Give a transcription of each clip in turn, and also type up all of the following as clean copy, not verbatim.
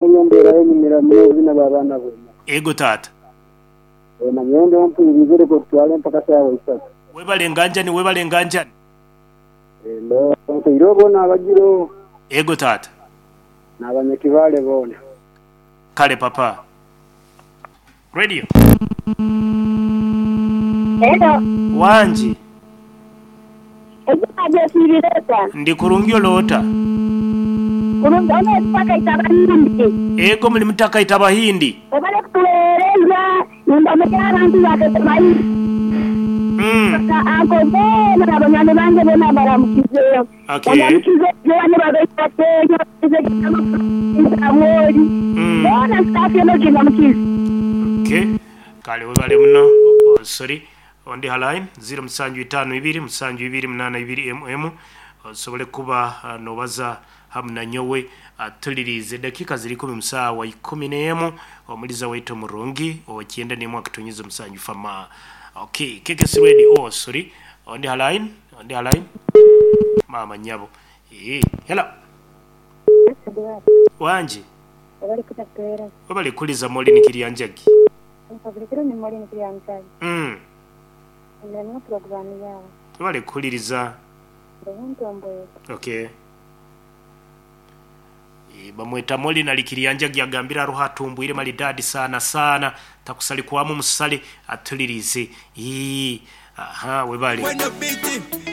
Embeera y'enyumira muno bw'abaana bwena. Ego taata. Nanyowe mpulirize leka otutwale mpaka saawa 3. Webale nganjani, webale nganjani. Nteire bona abagiro. Ego taata. N'abanyakibale bona. Kale papa. Radio. Hello. Wangi. Ekikazi osiibire ota? Ndi kurungi oloota. Kurungi ono oli mutaka Itabahindi. Ego muli mutaka Itabahindi. Webale kutuweereza nimba abantu ba Itabahindi. Anko boona na banywani bange boona mbaramukize. Okay. Baramukize boona babaite Samweli. Boona staff yeno ginamukize. Okay. Kale webale muno. Oh, sorry. Ondi line 0752 7282 mm osobole kuba nobaza hamu na nyowe atulirize dakika ziri 10 mu 11 omuliza waitu murungi okyenda nimwe akitonyiza omusanju fama. Okay, KKS Radio. Oh, sorry. Ondi line, ondi line. Mama nyabo. Hello. Wanji. Webale kutatuweereza. Webale kuliza moli nikiryanjagi. Bulikiro ni moli nikiryanjagi. Ndamya programu yawe. Webale kuliriza. Ntomboye. Okay. Bamweta moli na likiryanjagi agambira ruha atumbwire malidadi sana sana takusali kwamu musale atulirize. Aha, webale. When the beat,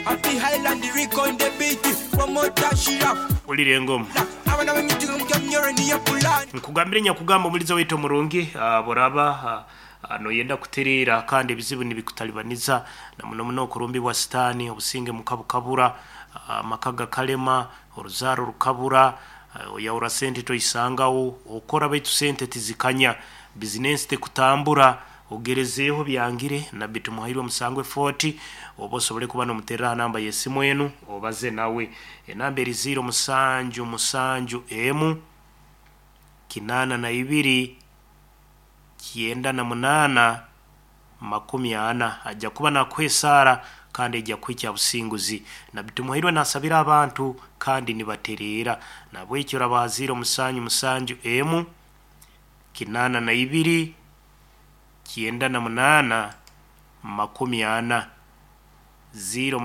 Happy Highland, the Rico in the beat, promoter Shira. Ulire ngoma. Nkugambire nyakugamba omuliza waitu omurungi boraba noyenda kuterera kandi ebizibu nibikutalibaniza na muno muno okurumbibwa sitaani obusinge mukabukabura amaka gakalema oruzaaro rukabura oyahura sente toisangawo okora baitu sente tizikanya bizinensi tekutambura ogerezeeho byangire nabbi tumuhairwe omusango 40 oba osobole kuba nomuterera aha namba y'esimu enu obaze nawe enamba eri 0 7 7 emu 82 98 40 ajja kuba nakuha kandi ejja kuhikya businguzi nabbi tumuhairwe nasabira abantu kandi nibatereera nabwekyo rabaha 0 7 7 emu 82 98 40 0.